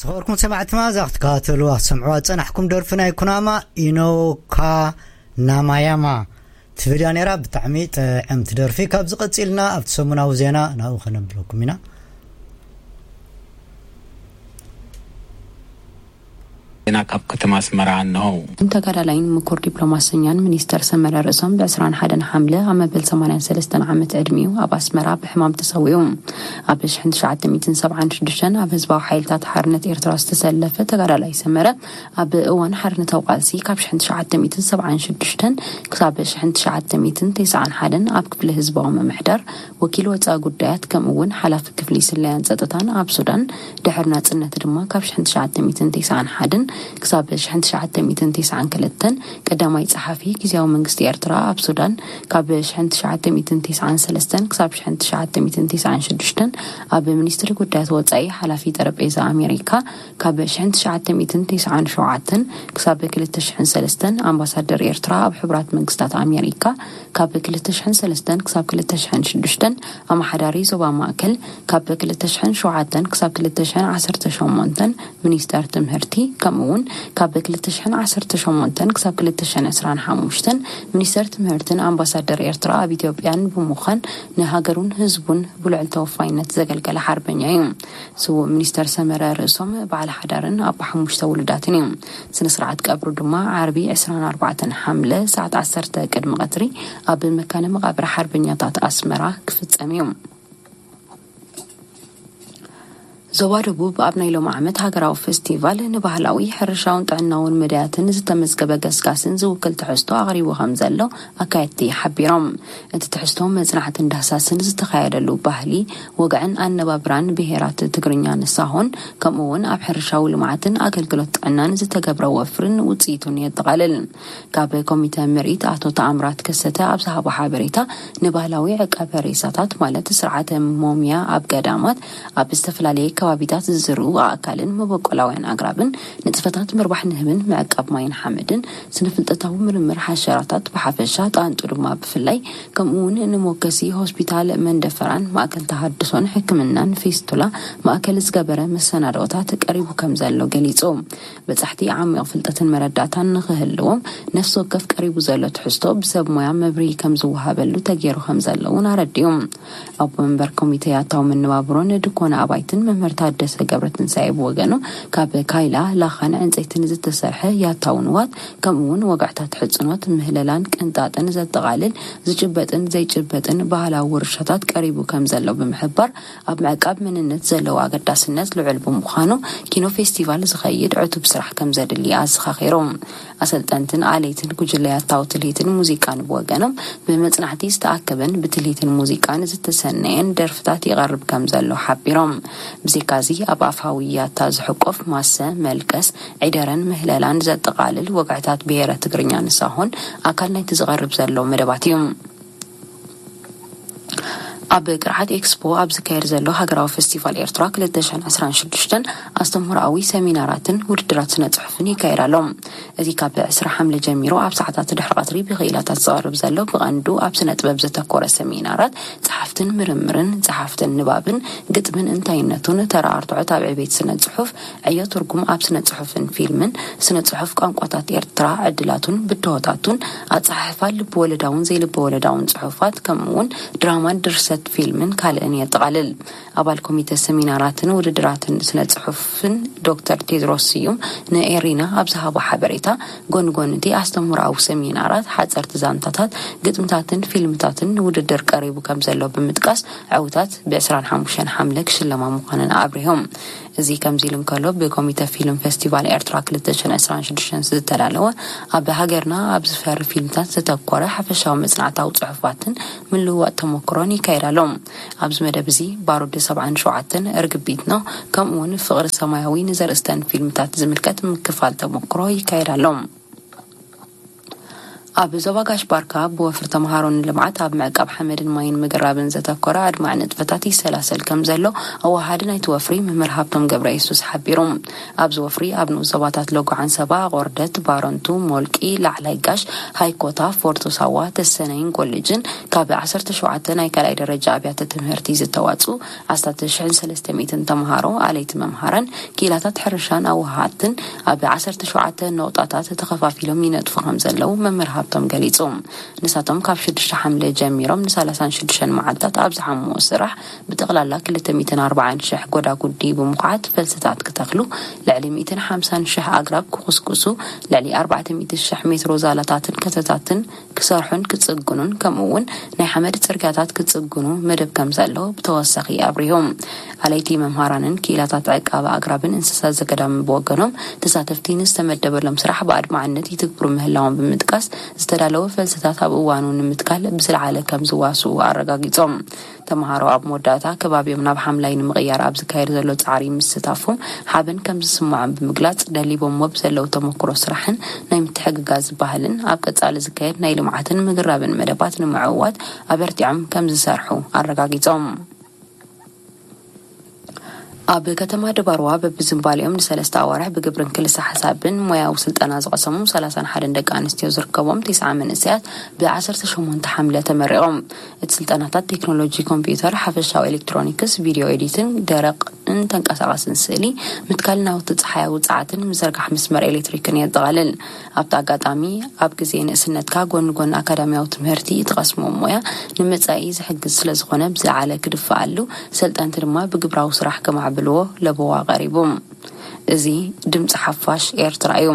ዝኸበርኩም ሰማዕትና፣ እዛ ክትከታተሉ ኣሰምዕዋ ዝጸናሕኩም ደርፊ ናይ ኩናማ ኢኖካ ናማያማ ትብል እያ ነይራ። ብጣዕሚ ጥዕምቲ ደርፊ። ካብዚ ቀጺልና ኣብቲ ሰሙናዊ ዜና ናብኡ ከነብለኩም ኢና። ዜና ካብ ከተማ ኣስመራ። እነሆ። ተጋዳላይን ምኩር ዲፕሎማሰኛን ሚኒስተር ሰመረ ርእሶም ብ ዕስራን ሓደን ሓምለ ኣብ መበል ሰማንያን ሰለስተን ዓመት ዕድሚኡ ኣብ ኣስመራ ብሕማም ተሰዊኡ። ኣብ ሽሕን ትሽዓተ ሚእትን ሰብዓን ሽዱሽተን ኣብ ህዝባዊ ሓይልታት ሓርነት ኤርትራ ዝተሰለፈ ተጋዳላይ ሰመረ፣ ኣብ እዋን ሓርነታዊ ቃልሲ ካብ ሽሕን ትሽዓተ ሚእትን ሰብዓን ሽዱሽተን ክሳብ ሽሕን ትሽዓተ ሚእትን ተስዓን ሓደን ኣብ ክፍሊ ህዝባዊ ምምሕዳር ወኪል ወጻኢ ጉዳያት፣ ከምኡ እውን ሓላፊ ክፍሊ ስለያን ጸጥታን ኣብ ሱዳን፣ ድሕሪ ናጽነት ድማ ካብ ሽሕን ትሽዓተ ሚእትን ተስዓን ሓደን ክሳብ ሽሕን ትሽዓተ ሚእትን ተስዓን ክልተን ቀዳማይ ጸሓፊ ግዝያዊ መንግስቲ ኤርትራ ኣብ ሱዳን፣ ካብ ሽሕን ትሽዓተ ሚእትን ተስዓን ሰለስተን ክሳብ ሽሕን ትሽዓተ ሚእትን ተስዓን ሽዱሽተን ኣብ ሚኒስትሪ ጉዳያት ወጻኢ ሓላፊ ጠረጴዛ ኣሜሪካ፣ ካብ ሽሕን ትሽዓተ ሚእትን ተስዓን ሸውዓተን ክሳብ ክልተ ሽሕን ሰለስተን ኣምባሳደር ኤርትራ ኣብ ሕቡራት መንግስታት ኣሜሪካ፣ ካብ ክልተ ሽሕን ሰለስተን ክሳብ ክልተ ሽሕን ሽዱሽተን ኣመሓዳሪ ዞባ ማእከል፣ ካብ ክልተ ሽሕን ሸውዓተን ክሳብ ክልተ ሽሕን ዓሰርተ ሸሞንተን ሚኒስተር ትምህርቲ፣ ከምኡ እውን ካብ ክልተ ሽሕን ዓሰርተ ሸሞንተን ክሳብ ክልተ ሽሕን ዕስራን ሓሙሽተን ሚኒስተር ትምህርትን ኣምባሳደር ኤርትራ ኣብ ኢትዮጵያን ብምዃን ንሃገሩን ህዝቡን ብልዑል ተወፋይነት ዘገልገለ ሓርበኛ እዩ። ስዉእ ሚኒስተር ሰመረ ርእሶም በዓል ሓዳርን ኣቦ ሓሙሽተ ውሉዳትን እዩ። ስነ ስርዓት ቀብሩ ድማ ዓርቢ ዕስራን ኣርባዕተን ሓምለ ሰዓት ዓሰርተ ቅድሚ ቀትሪ ኣብ መካነ መቓብር ሓርበኛታት ኣስመራ ክፍጸም እዩ። ዞባ ደቡብ ኣብ ናይ ሎሚ ዓመት ሃገራዊ ፌስቲቫል ንባህላዊ፣ ሕርሻውን ጥዕናውን መዳያትን ዝተመዝገበ ገስጋስን ዝውክል ትሕዝቶ ኣቕሪቡ ከም ዘሎ ኣካየድቲ ሓቢሮም። እቲ ትሕዝቶ መጽናዕትን ዳህሳስን ዝተኻየደሉ ባህሊ፣ ወግዕን ኣነባብራን ብሄራት ትግርኛን ሳሆን፣ ከምኡ እውን ኣብ ሕርሻዊ ልምዓትን ኣገልግሎት ጥዕናን ዝተገብረ ወፍርን ውጽኢቱን የጠቓልል። ካብ ኮሚተ ምርኢት ኣቶ ተኣምራት ከሰተ ኣብ ዝሃቦ ሓበሬታ፣ ንባህላዊ ዕቃበ ሬሳታት ማለት ስርዓተ ሞምያ ኣብ ገዳማት፣ ኣብ ዝተፈላለየ ከባቢታት ዝዝርኡ ኣእካልን መበቆላውያን ኣግራብን፣ ንጥፈታት ምርባሕ ንህብን ምዕቃብ ማይን ሓመድን፣ ስነ-ፍልጠታዊ ምርምር ሓሸራታት ብሓፈሻ፣ ጣንጡ ድማ ብፍላይ፣ ከምኡ እውን ንሞከሲ ሆስፒታል መንደፈራን ማእከል ተሃድሶን ሕክምናን ፌስቱላ ማእከል ዝገበረ መሰናድኦታት ቀሪቡ ከም ዘሎ ገሊጹ። በጻሕቲ ዓሚቕ ፍልጠትን መረዳእታን ንኽህልዎም ነፍሲ ወከፍ ቀሪቡ ዘሎ ትሕዝቶ ብሰብ ሞያ መብርሂ ከም ዝወሃበሉ ተገይሩ ከም ዘሎ እውን ኣረዲኡ። ኣቦ መንበር ኮሚተ ያታዊ መነባብሮን ድኮነ ኣባይትን መምህር ታደሰ ገብረትንሳኤ ብወገኑ፣ ካብ ካይላ፣ ላኻን ዕንፀይትን ዝተሰርሐ ያታዊ ንዋት፣ ከምኡ እውን ወግዕታት ሕፅኖት፣ ምህለላን ቅንጣጥን ዘጠቓልል ዝጭበጥን ዘይጭበጥን ባህላዊ ውርሻታት ቀሪቡ ከም ዘሎ ብምሕባር፣ ኣብ ምዕቃብ መንነት ዘለዎ ኣገዳስነት ልዑል ብምዃኑ፣ ኪኖ ፌስቲቫል ዝኸይድ ዕቱብ ስራሕ ከም ዘድሊ ኣዘኻኺሩ። ኣሰልጠንትን ኣለይትን ጉጅለ ያታዊ ትልሂትን ሙዚቃን ብወገኖም፣ ብመጽናዕቲ ዝተኣከበን ብትልሂትን ሙዚቃን ዝተሰነየን ደርፍታት ይቐርብ ከም ዘሎ ሓቢሮም። ብዘይካዚ፣ ኣብ ኣፋዊ ያታ ዝሕቆፍ ማሰ፣ መልቀስ፣ ዒደረን ምህለላን ዘጠቓልል ወግዕታት ብሄረ ትግርኛን ሳሆን ኣካል ናይቲ ዝቐርብ ዘሎ መደባት እዩ። ኣብ ቅርዓት ኤክስፖ ኣብ ዝካየድ ዘሎ ሃገራዊ ፌስቲቫል ኤርትራ ክልተ ሽሕን ዕስራን ሽዱሽተን ኣስተምህሮኣዊ ሰሚናራትን ውድድራት ስነ ጽሑፍን ይካየድ ኣሎ። እቲ ካብ ዕስራ ሓምለ ጀሚሩ ኣብ ሰዓታት ድሕሪ ቀትሪ ብክኢላታት ዝቐርብ ዘሎ ብቐንዱ ኣብ ስነ ጥበብ ዘተኮረ ሰሚናራት፣ ጸሓፍትን ምርምርን፣ ጸሓፍትን ንባብን፣ ግጥምን እንታይነቱን፣ ተራ ኣርትዖት ኣብ ዕቤት ስነ ጽሑፍ፣ ዕዮ ትርጉም ኣብ ስነ ጽሑፍን ፊልምን፣ ስነ ጽሑፍ ቋንቋታት ኤርትራ፣ ዕድላቱን ብድሆታቱን፣ ኣጸሓሕፋ ልብ ወለዳውን ዘይልብ ወለዳውን ጽሑፋት፣ ከምኡ እውን ድራማን ድርሰት ፊልምን ካልእን የጠቓልል። ኣባል ኮሚተ ሰሚናራትን ውድድራትን ስነ ጽሑፍን ዶክተር ቴድሮስ ስዩም ንኤሪና ኣብ ዝሃቦ ሓበሬታ፣ ጎኒ ጎኒ እቲ ኣስተምህሮኣዊ ሰሚናራት፣ ሓጸርቲ ዛንታታት፣ ግጥምታትን ፊልምታትን ንውድድር ቀሪቡ ከም ዘሎ ብምጥቃስ፣ ዕውታት ብ ዕስራን ሓሙሽተን ሓምለ ክሽለማ ምዃነን ኣብሪሆም። እዚ ከምዚ ኢሉ እንከሎ፣ ብኮሚተ ፊልም ፌስቲቫል ኤርትራ ክልተ ሽሕን ዕስራን ሽዱሽተን ዝተዳለወ ኣብ ሃገርና ኣብ ዝፈሪ ፊልምታት ዘተኮረ ሓፈሻዊ መጽናዕታዊ ጽሑፋትን ምልውዋጥ ተመክሮን ይካየድ ኣሎ። ኣብዚ መደብ እዚ ባሩድ ሰብዓን ሸውዓተን፣ ርግቢት ነው፣ ከምኡ እውን ፍቕሪ ሰማያዊ ንዘርእስተን ፊልምታት ዝምልከት ምክፋል ተመክሮ ይካየድ ኣሎ። ኣብ ዞባ ጋሽ ባርካ ብወፍሪ ተምሃሮ ንልምዓት ኣብ ምዕቃብ ሓመድን ማይን ምግራብን ዘተኮረ ኣድማዕ ንጥፈታት ይሰላሰል ከም ዘሎ ኣወሃዲ ናይቲ ወፍሪ መምህር ሃብቶም ገብረ የሱስ ሓቢሩ። ኣብዚ ወፍሪ ኣብ ንኡስ ዞባታት ሎጎ ዓንሰባ፣ ቆርደት፣ ባረንቱ፣ ሞልቂ፣ ላዕላይ ጋሽ፣ ሃይኮታ፣ ፎርቶ ሳዋ፣ ተሰነይን ኮሌጅን ካብ ዓሰርተ ሸውዓተ ናይ ካልኣይ ደረጃ ኣብያተ ትምህርቲ ዝተዋፅኡ ኣስታት ሽሕን ሰለስተ ሚእትን ተምሃሮ ኣለይቲ መምሃራን ክኢላታት ሕርሻን ኣወሃሃድትን ኣብ ዓሰርተ ሸውዓተ ነቑጣታት ተኸፋፊሎም ይነጥፉ ከም ዘለዉ መምህር ሃብቶም ገሊጹ። ንሳቶም ካብ ሽዱሽተ ሓምለ ጀሚሮም ንሰላሳን ሽዱሽተን መዓልታት ኣብ ዝሓምዎ ስራሕ ብጠቕላላ ክልተ ሚእትን ኣርባዓን ሽሕ ጎዳጉዲ ብምኹዓት ፈልስታት ክተኽሉ ልዕሊ ሚእትን ሓምሳን ሽሕ ኣግራብ ክኹስኩሱ ልዕሊ ኣርባዕተ ሚእቲ ሽሕ ሜትሮ ዛላታትን ከተታትን ክሰርሑን ክጽግኑን ከምኡ እውን ናይ ሓመድ ጽርግያታት ክጽግኑ መደብ ከም ዘሎ ብተወሳኺ ኣብሪሆም። ኣለይቲ መምሃራንን ክኢላታት ዕቃበ ኣግራብን እንስሳ ዘገዳምን ብወገኖም ተሳተፍቲ ንዝተመደበሎም ስራሕ ብኣድማዕነት ይትግብሩ ምህላዎም ብምጥቃስ ዝተዳለወ ፈልስታት ኣብ እዋኑ ንምትካል ብዝለዓለ ከም ዝዋስኡ ኣረጋጊጾም። ተምሃሮ ኣብ መወዳእታ ከባቢኦም ናብ ሓምላይ ንምቕያር ኣብ ዝካየድ ዘሎ ጻዕሪ ምስታፎም ሓበን ከም ዝስምዖም ብምግላጽ ደሊቦምዎ ብዘለዉ ተመክሮ ስራሕን ናይ ምትሕግጋዝ ባህልን ኣብ ቀጻሊ ዝካየድ ናይ ልምዓትን ምግራብን መደባት ንምዕዋት ኣበርቲዖም ከም ዝሰርሑ ኣረጋጊጾም። ኣብ ከተማ ድባርዋ በብዝንባሌኦም ንሰለስተ ኣዋርሕ ብግብርን ክልሳ ሓሳብን ሞያዊ ስልጠና ዝቐሰሙ ሰላሳን ሓደን ደቂ ኣንስትዮ ዝርከቦም ተስዓ መንእሰያት ብዓሰርተ ሸሞንተ ሓምለ ተመሪቖም። እቲ ስልጠናታት ቴክኖሎጂ ኮምፒውተር፣ ሓፈሻዊ ኤሌክትሮኒክስ፣ ቪድዮ ኤዲቲንግ፣ ደረቕን ተንቀሳቓስን ስእሊ፣ ምትካል ናውቲ ጸሓያዊ ጸዓትን ምዝርጋሕ መስመር ኤሌክትሪክን የጠቓልል። ኣብቲ ኣጋጣሚ ኣብ ግዜ ንእስነትካ ጎኒ ጎኒ ኣካዳሚያዊ ትምህርቲ እትቐስሞ ሞያ ንመጻኢ ዝሕግዝ ስለ ዝኾነ ብዝለዓለ ክድፈኣሉ፣ ሰልጠንቲ ድማ ብግብራዊ ስራሕ ከማዕብልዎ ለበዋ ቀሪቡ። እዚ ድምፂ ሓፋሽ ኤርትራ እዩ።